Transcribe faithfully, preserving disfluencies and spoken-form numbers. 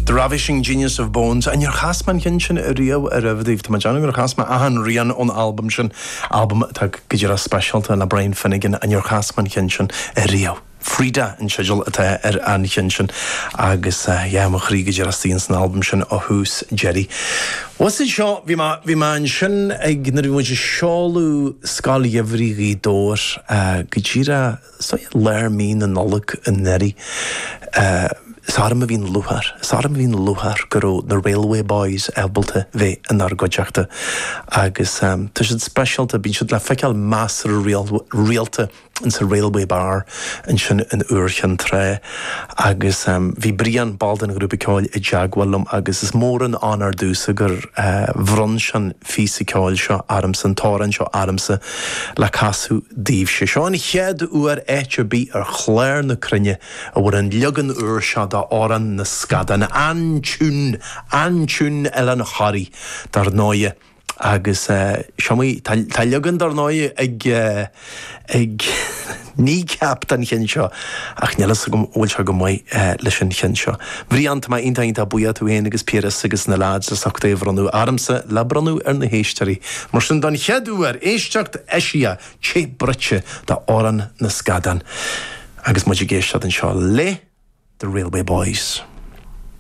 The Ravishing Genius of Bones an ar chas mé an ceann sin ariamh roimhe daoibh Tá déanamh gur chas mé achan rian ón albam sin albam atá go díreach speisialta le Brian Finnegan an ar chas mé an ceann sin ariamh. Frida an teideal atá ar an cheann sin agus yeah, mo chroí go díreach istigh san albam sin ó thús deireadh. Was seo bhí bhí mé ansin ag nuair a bhí muid ag seoladh Scoil Gheimhridh Ghaoth Dobhair go díreach so lár mí na Nollag anuraidh. Is orm a bhí an lúcháir, is orm a bhí an lúcháir go raibh na Railway Boys ábalta bheith inár gcuideachta agus um, tá siad speisialta bíonn siad le feiceáil measartha rialta in sa Railway Bar ansin in Iúr Chinn Trá agus um, bhí Brian ball den ghrúpa ceoil i dteagmháil liom agus is mór an onóir domhsa gur uh, bhronn sé an píosa ceoil seo ormsa an t-amhrán seo ormsa le casadh daoibhse. Seo an chéad uair áit ar bith ar chlár na cruinne a bhfuil an leagan úr seo d'Amhrán na Scadán an tiún an tiún Oileán Thoraí dar ndóigh agus seomaí tá leagan dar ndóigh ag ag Kneecap den cheann seo ach níl a fhios agam bhfuil sé go maith leis an cheann seo. Bhrian tá iontach iontach buíoch tú féin agus Piaras agus na lads as ucht é a bhronnadh ormsa le bronnadh ar na héisteoirí. Mar sin don chéad uair éisteacht eisiach te bruite d'Amhrán na Scadán. Agus muid ag éisteacht anseo le The Railway Boys.